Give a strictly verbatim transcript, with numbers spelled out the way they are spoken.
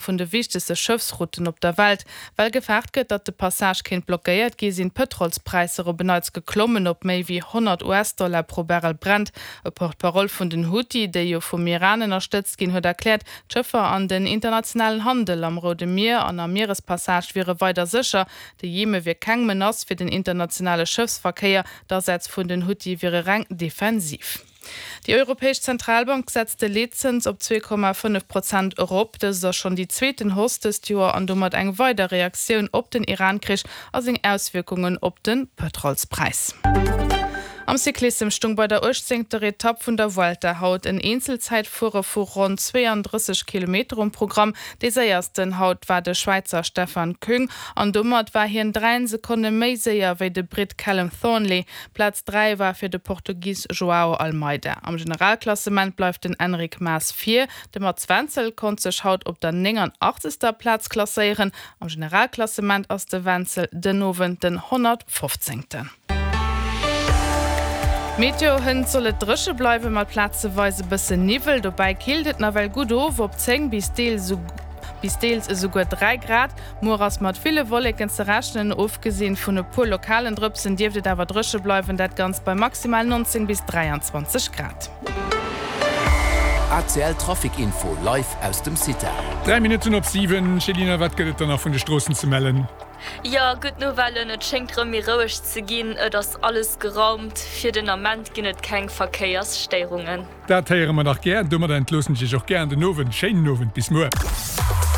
vun de wichtegste Schëffsrouten op der Welt. Well gefaart gëtt, datt de Passage kéint blockéiert gi sinn d'Pëtrolspräisser op en Neits geklommen op méi wéi honnert US-Dollar pro Barrel Brent. E Porte-parole vun den Huthi, déi jo vum Iran ënnerstëtzt ginn, huet erkläert, d'Schëffer an den internationalen Handel am Roude Mier an am Mierespassage wiere weider sécher. De Jeme wier keng Menace fir den internationale Schëffsverkéier, d'Asätz vun den Huthi wiere reng defensiv. Déi Europäesch Zentralbank setzt de Leetzëns op zwee Komma fënnef Prozent erop. Dëst ass schonn déi zweeten Hausse dëst Joer an domat eng weider Reaktioun op den Iran-Krich a seng Auswierkungen op de Pëtrolspräis. Am Cyclissem stung bei der uechtzéngter Etapp vun der Vuelta haut en Eenzelzäitfuere vu ronn zweeëndrësseg Kilometer um Programm. Dee séiersten haut war de Schwäizer Stefan Küng an domat war hien dräi Sekonne méi séier wéi de Britt Callum Thornley. Plaz dräi war fir de Portugis Joao Almeida. Am Generalklassement bleift den Enric Mas vir. De Mats Wenzel konnt sech haut op der nénganachtzeger Plaz klasséieren. Am Generalklassement ass de Wenzel den Owend den honnertfofzéngten. Meteo, Hënt soll et dréche bleiwen, mat plazeweis e bëssen Niwwel. Dobäi killt et nawell gutt of op zéng bis deels bis deels esouguer dräi Grad. Muer ass mat ville Wolleken ze rechnen, ofgesinn vun e puer lokalen Drëpsen dierft et awer dréche bleiwen, dat Ganzt bei maximal neunzéng bis dräianzwanzeg Grad. A C L Trafic Info live aus dem CITA. Dräi Minutten op siwen, Céline, wat gëtt et dann nach vun de Stroossen ze mellen? Jo, gutt Nouvellen, et schéngt rëm méi roueg ze ginn, et ass alles geraumt, fir den Ament ginn et keng Verkéiersstéierungen. Dat héiere mer dach gär. Domadder entloossen ech iech och gär an den Owend. Schéinen Owend, bis muer.